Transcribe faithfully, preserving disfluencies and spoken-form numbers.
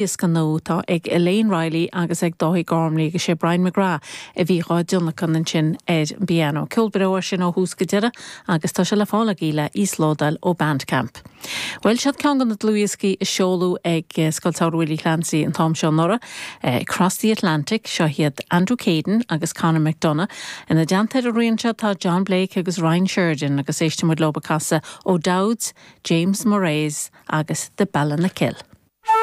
Dlúthdhiosca nua atá ag Elaine Riley agus ag Dáithí Gormley agus sé Brian McGrath a bhí á thionlacan ansin ar an bpianó. Ceol breá sin ó thús go deireadh agus tá sé le fáil agaibh le íoslódáil ó Bandcamp. Well seo ceann de na dlúthdhioscaí a seoladh ag eh, Scoil Samhraidh Willie Clancy an t-am seo anuraidh, eh, Across the Atlantic seo hiad Andrew Caden agus Conor McDonough. Ina dteannta ar an rian seo tá John Blake agus Ryan Sheridan agus éistfimid leo ag casadh O'Dowd's, James Moraes agus The Ballinakill.